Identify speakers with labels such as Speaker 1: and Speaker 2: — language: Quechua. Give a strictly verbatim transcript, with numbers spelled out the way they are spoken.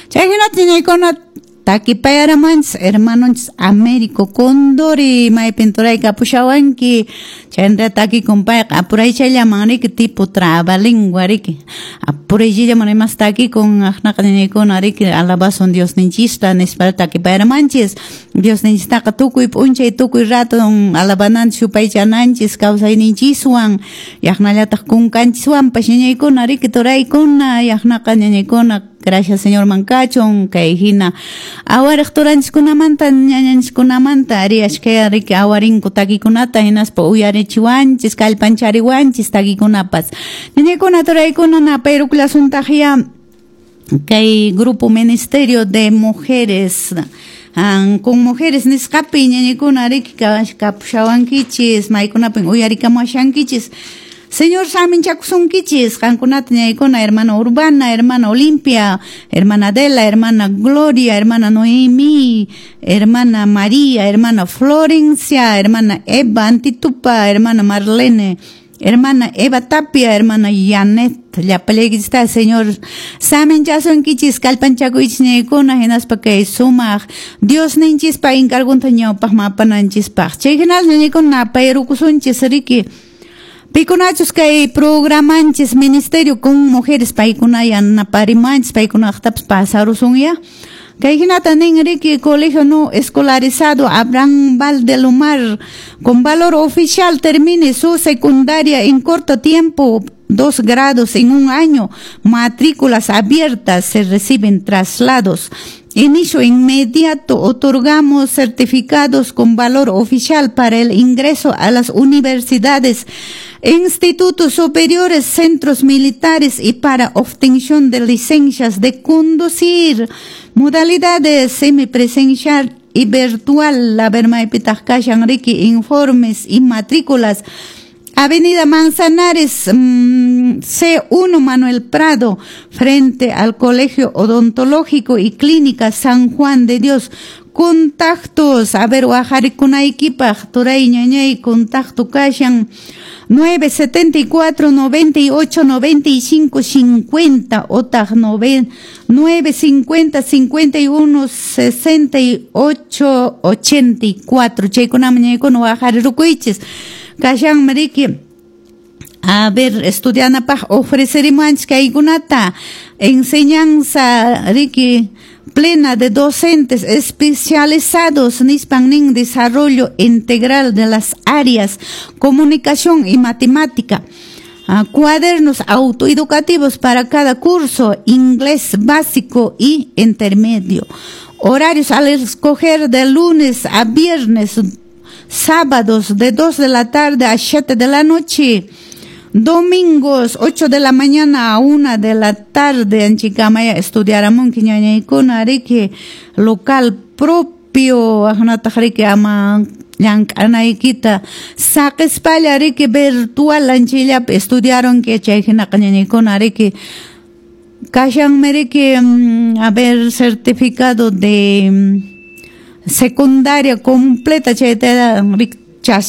Speaker 1: Chay hinata ñañaykuna takipayaramanchis hermanonchis Américo Condori maypin turayka apushawanki chayndra takikun payqa apuraychallaman riki tipo trabalengua riki apuraychallaman imas takikun aqnaqa ñañaykuna riki alabasun Diosninchista nispa takipayaramanchis Diosninchistaqa tukuy p'unchay tukuy rato alabananchis yupaychananchis kawsayninchiswan yaqnallataq kunkanchiswanpas ñañaykuna riki turaykuna yaqnaqa ñañaykuna. Gracias Señor mankachon kay hina awariq turanchiskunamanta ñañanchiskunamanta ari ashkaya riki awarinku takikunata hinaspa uyarichiwanchis kallpanchariwanchis takikunapas ñañaykuna turaykuna napayrukullasuntaqya kay grupo Ministerio de Mujeres con mujeres nisqapi ñañaykuna riki kapushawankichis maykunapin uyarikamuashankichis. Señor saminchakusunkichis qankunata ñaykuna hermana Urbana, hermana Olimpia, hermana Adela, hermana Gloria, hermana Noemí, hermana María, hermana Florencia, hermana Eva Antitupa, hermana Marlene, hermana Eva Tapia, hermana Janet, llapallaykichista Señor saminchasunkichis kallpanchakuychis ñaykuna hinaspa kay sumaq Diosninchispa encargunta ñawpaqman apananchispaq chay hinal ñañaykuna napayrukusunchis riki pikunachus kay programanchis Ministerio con Mujeres paykuna yanaparimanchis paykunaqtapas pasarusunya kay hinata nin riki colegio no escolarizado Abraham Valdelomar con valor oficial termine su secundaria en corto tiempo, dos grados en un año, matrículas abiertas, se reciben traslados. Inicio inmediato, otorgamos certificados con valor oficial para el ingreso a las universidades, institutos superiores, centros militares y para obtención de licencias de conducir. Modalidades semipresencial y virtual, la vermaipitaq kashan riki informes y matrículas. Avenida Manzanares, mmm, C uno Manuel Prado, frente al Colegio Odontológico y Clínica San Juan de Dios. Contactos, a ver, waqarikunaykipaq, turay ñañay, contacto kashan nueve setenta y cuatro noventa y ocho noventa y cinco cincuenta, otaq nueve cincuenta cincuenta y uno sesenta y ocho ochenta y cuatro. Chaykunaman ñaykuna waqarirukuychis. Kashan riki, a ver, estudianapaq ofrecerimanchis kaykunata enseñanza riki plena de docentes especializados nispan nin desarrollo integral de las áreas comunicación y matemática. Uh, cuadernos autoeducativos para cada curso, inglés básico y intermedio. Horarios al escoger de lunes a viernes, sábados de dos de la tarde a siete de la noche, domingos ocho de la mañana a una de la tarde. En Chicamaya estudiaramunki ñañaykuna riki local propio aqnataq riki ama llank'anaykita saqispalla riki virtual anchillapi estudiaronki chay hinaqa ñañaykuna riki kashanmi riki a ver certificado de secundaria completa chayta